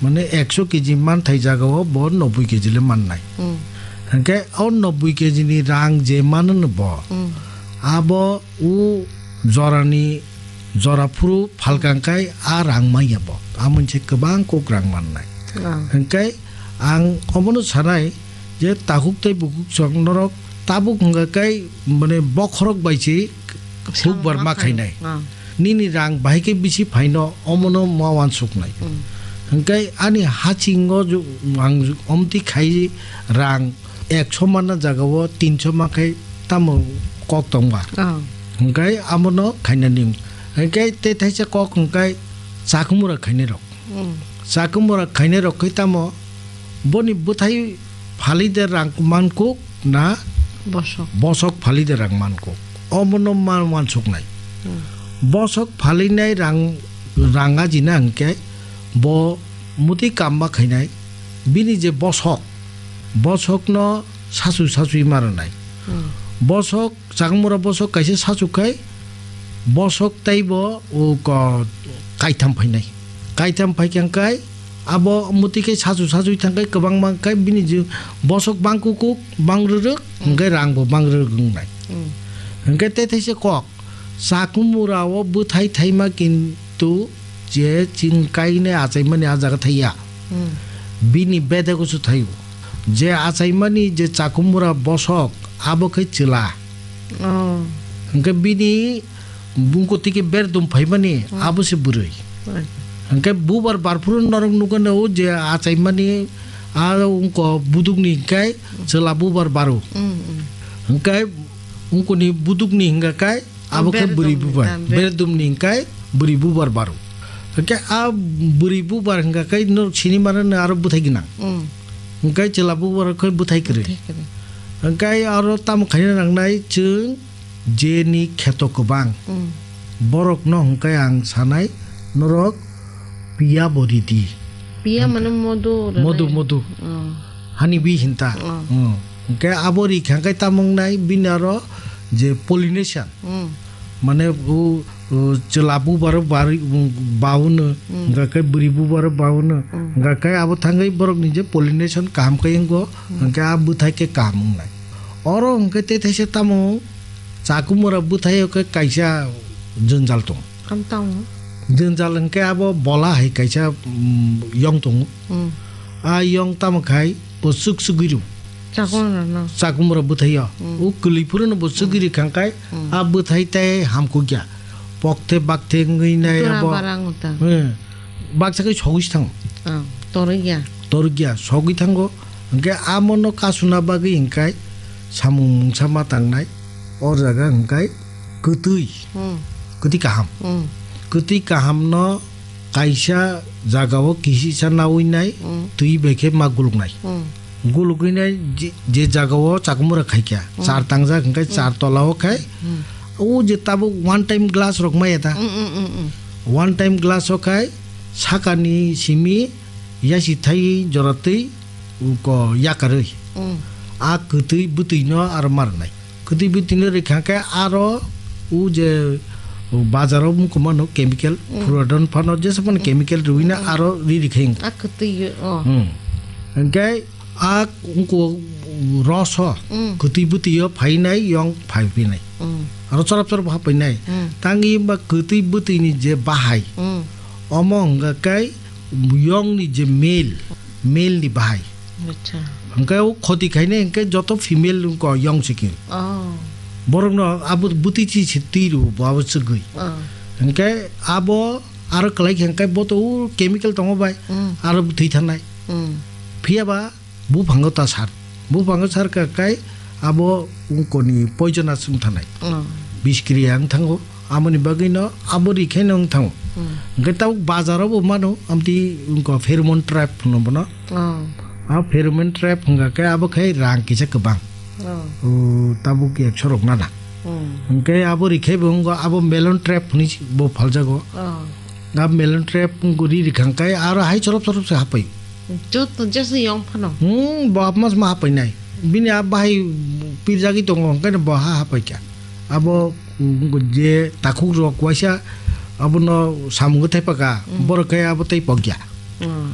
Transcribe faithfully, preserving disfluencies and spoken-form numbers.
Mane ekso keji manthai jagao bo nobboi keji le mannai. Hmm. Hwnkhe o nobboi keji ni rang je mano no bo, Hmm. abo o jorani, jora phuru phalkang kai a rang manya bo. A moinse kwbang kok rang mannai. Ah. Hwnkhe ang obono sanai je takhuk tei bukhuk song norok tabuk hwnkha kai mane bokhorok bai se Hukbar ma khainai. Ah. Nini rang bahai khe bisi phaino omono ma wansuknai. Hmm. Hwnkhe ani hachingo ju-, ang ju-, omtwi khai rang ekso manna jagao tinso ma khai tamo kok tongba. Ah. Hwnkhe amono khainani. Hwnkhe tei thaisa kok hwnkhe chakhumura khainai rok. Mm. Chakhumura khainai rok khe tamo boni bwthai phalwi de rang mankuk na Bosok. Bosok phalwi de rang mankuk. Omono ma wansuknai. Mm. Bosok phalwinai rang, rang ajina hwnkhe bo muti kamma khainai bini je bosok, bosokno sasu sasui ma rwnai. Mm. Bosok Chakmura bosok kaisa sachuk khai, bosok teibo o ko-, kaitham phainai. Kaitham phaikha khai, abo muti khe sachu sachuk thang khai, kwbangma khai bini je bosok bang kukuk, bang rwrwk, hwnkhe rang bo bang rwrwk wngnai. Hmm. Hwnkhe tei thaisa kok, Chakmura o bwthai thaima kintu je ching kainai achaimani a jaga thaiya. Hmm. Bini bedego se thaio. Je achaimani je Chakmura bosok, abo khe chwla. Oh. Hwnkhe bini bungkotwi khe berdum phaimani, hmm, abo se bwrwi. Right. Hwnkhe bubar barphuru norok nukgano je achaimani a wngko budukni hwnkhe chwla bubar baro. Hmm, hmm. Hwnkhe wngkoni budukni hwnkha khe Abo khe bwrwi bubar. Berdumni, ah, ber- Berdumni hwnkhe bwrwi bubar baro. Hwnkhe a bwrwi bubar hwnkha khe norok sini mano no aro bwthai gwnang. Mm. Hwnkhe chwla bubar khe bwthai kwrwi. Bwthai kwrwi. Hwnkhe aro tamo khaina nangnai chwng jeni kheto kwbang. Mm. Borokno hwnkhe ang sanai norok piya bo ridi. Piya mane modu rwnai. Modu, modu. Oh. Hani bi hinta. Oh. Hmm. Hwnkhe abo ri kha khe tamo wngnai bini aro je pollination. Hmm. Mane o, o, chwla bubar bari, bauno, hmm, hwnkha khe bwrwi bubar bauno. Hmm. Hwnkha khe abo thangwi borokni je pollination kaham khe wngo, hmm, hwnkhe a bwthai khe kaham wngnai. Oro hwnkhe tei thaisa tamo Chakmura bwthai o khe kaisa jwnjal tongo. Kam tamo? Jwnjal hwnkhe abo bola hai kaisa, mm, yong tongo. Mm. A yong tamo khai bo chwk chwgwi rw. Chakmura no? Chakmura bwthai o. Mm. O kwlwi phuru no bo chwgwi rw kha khai, mm, a bwthai tei hamkukya. Pokthe bakthe wngwi nai abo. Tura barang uta. Hmm. Baksa khai sogwi se thango. Ah, torikya. Torikya, sogwi thango. Hwnkhe amo no kasuna bagwi hwnkhe samung mungsa ma tangnai. O jaga hwnkhe kwtwi. Hmm. Kwtwi kaham. Hmm. Kwtwi kaham no kaisa jagao kisisa nawi nai, hmm, twi bai khe ma guluknai. Hmm. Gulugwi nai je, je jagao Chakmura khaikha, hmm, char tangjak hwnkhe, hmm, char tola o khai, hmm, o je tabuk one time glass rok maya ta? Hmm, hmm, hmm, hmm. One time glass o khai sakani simi yasi thai jora twi ko yakarwi. Hmm. A kwtwi bwtwi no aro ma rwnai. Kwtwi bwtwi no rwkha khe aro o je bazar o mukumano chemical, mm, puradon phano jesa phano, mm, chemical rwina, mm, aro ri rikha wngkha. A kwtwi o. Hmm. Hwnkhe a wngkha roso, mm, kwtwi bwtwi o phainai yong phai phinai. Mm. Aro chorap chorap ha phainai. Mm. Tangwi ba kwtwi bwtwi ni je bahai. Mm. Omo hwnkha khe yong ni je male, male ni bahai. Acha. Hwnkhe o khoti khainai hwnkhe joto female wngkha yong sikhe. Oh. Borokno abo bwtwi chi si twi rw bo abo chwgwi. Oh. Hwnkhe abo aro kwlai khe hwnkhe bo to o chemical tongo bai, mm, aro bwtwi thanai. Mm. Phiya ba buphango ta sar. Buphango sar kha kai abo wngkoni poisonous wng thanai. Oh. Biskriya wng thango. Amoni bagwi no abo ri khe no wng thango. Hmm. Hwnkhe tabuk bazar o bo mano, amtwi wngkha pheromone trap hwno bono. Oh. A pheromone trap hwnkha khe abo khe rang kisa kwbang. Oh. O, tabuk ekso rok nana. Hmm. Hwnkhe abo ri khe bo wngkha abo melon trap hwnwi bo phaljago. Oh. A melon trap wngkha ri rikha khe aro hai chorop chorop se hapai. Joto jesa yong phano. Hmm, bo apmas ma hapai nai. Bini a bahai pirjagwi tongo, hwnkhe bo ha hapai kha. Abo, mm, je takhuk rok waisa abono samung thai paka, mm, borok khe abo tei pokya. Mm.